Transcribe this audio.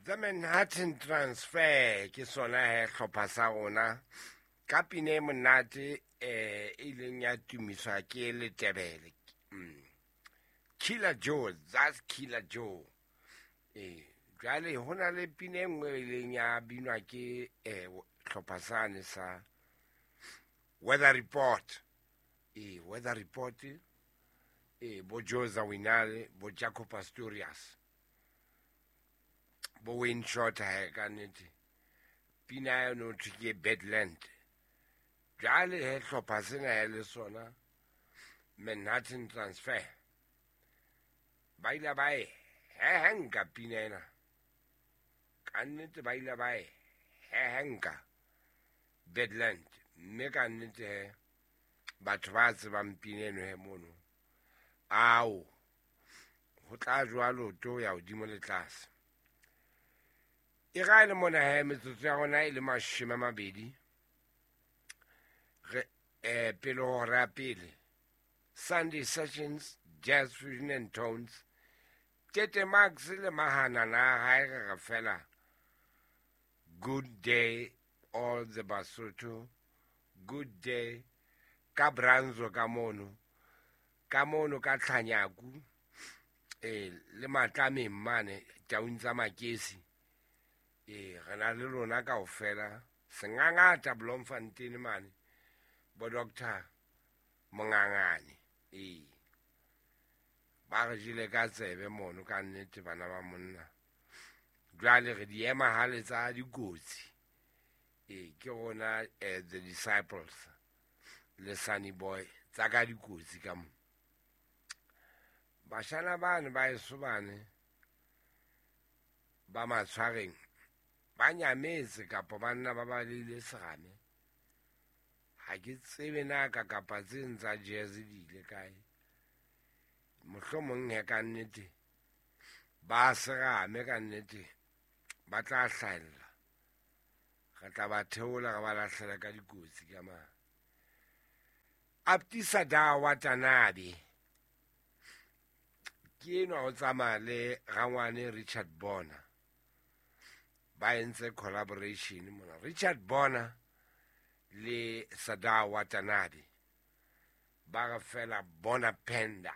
The Manhattan Transfer ke sona he hlopha sa rona ka pina e monate e ileng ya tumiswa ke Letebele. Killer Joe, that's Killer Joe. Jwale ho na le pina e nngwe e ileng ya binwa ke hlopha sane sa Weather Report. Weather Report, bo Joe Zawinul, bo Jaco Pastorius, bo Wayne Shorter he ka nnete. Pina ya no thwe ke Badland. Jwale he hlopha sena he le sona Manhattan Transfer. Ba ile ba e hehenka pina ena. Ka nnete ba ile ba e hehenka Badland. Mme ka nnete he batho ba tsebang pina eno he mono. Ao, ho tla jwalo to ya hodimo le tlase. E ra le mona he metsotso ya rona e le 20 re pele hora ya pele. Sunday Sessions, Jazz Fusion and Tones. Tete Max le mahana na hae re re fela. Good day all the Basotho. Good day ka Branzo ka mono. Ka mono ka Tlhanyaku. Le matlameng mane taung tsa Makesi. Re na le lona kaofela. Sengangata Bloemfontein mane. Bo Doctor Mongangane. Ba re jele ka tsebe mono ka nnete bana ba monna. Jwale re di ema hale tsa dikotsi. Ke rona the Disciples le Sunny Boy tsa ka dikotsi ka mo. Bashana bane ba eso bane ba matshwareng ba nyametse kapa ba nna ba balehile serame. Ha ke tsebe na ka kapa tse ntsa jazz di ile kae. Mohlomong he ka nnete ba serame ka nnete ba tla hlahella. Re tla ba theola re ba lahlela ka dikotsi ka ma. Abdisa da Watanabe ke enwa o tsamaya le rangwane Richard Bona. Ba entse collaboration mona. Richard Bona le Sada Watanabe ba re fela Bona Penda.